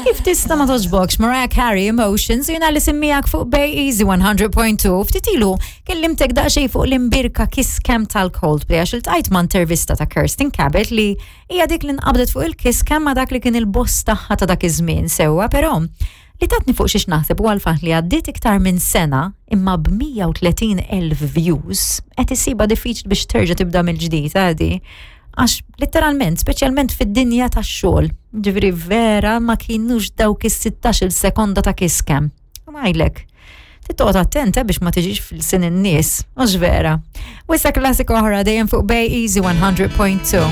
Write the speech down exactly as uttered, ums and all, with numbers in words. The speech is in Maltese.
Kif tista' ma togħġbokx Mariah Carey Emotions jiena li semmijak fuq Bay Easy one hundred point two. Ftit ilu kellimtek daqsxejn fuq l-imbierka kiss cam tal-Coldplay għax iltqajt ma' intervista ta' Kirsten Cabot li hija dik li nqabdet fuq il-kiss cam ma' dak li kien il-boss tagħha ta' dak iż-żmien sewwa, però li tatni fuq xiex naħseb u għal-fatt li għaddiet iktar minn sena imma b'mija u tletin elf views qed issibha diffiċli biex terġa' tibda mill-ġdid għadi. Għax literalment, speċjalment fid-dinja tax-xogħol, ġifieri vera ma kienux dawk is-sittax-il sekonda ta' kiss cam. U ngħidlek, trid toqgħod attenta biex ma tiġix fil-sin in-nies, mhux vera. U issa klassika oħra dejjem fuq Bay Easy one hundred point two.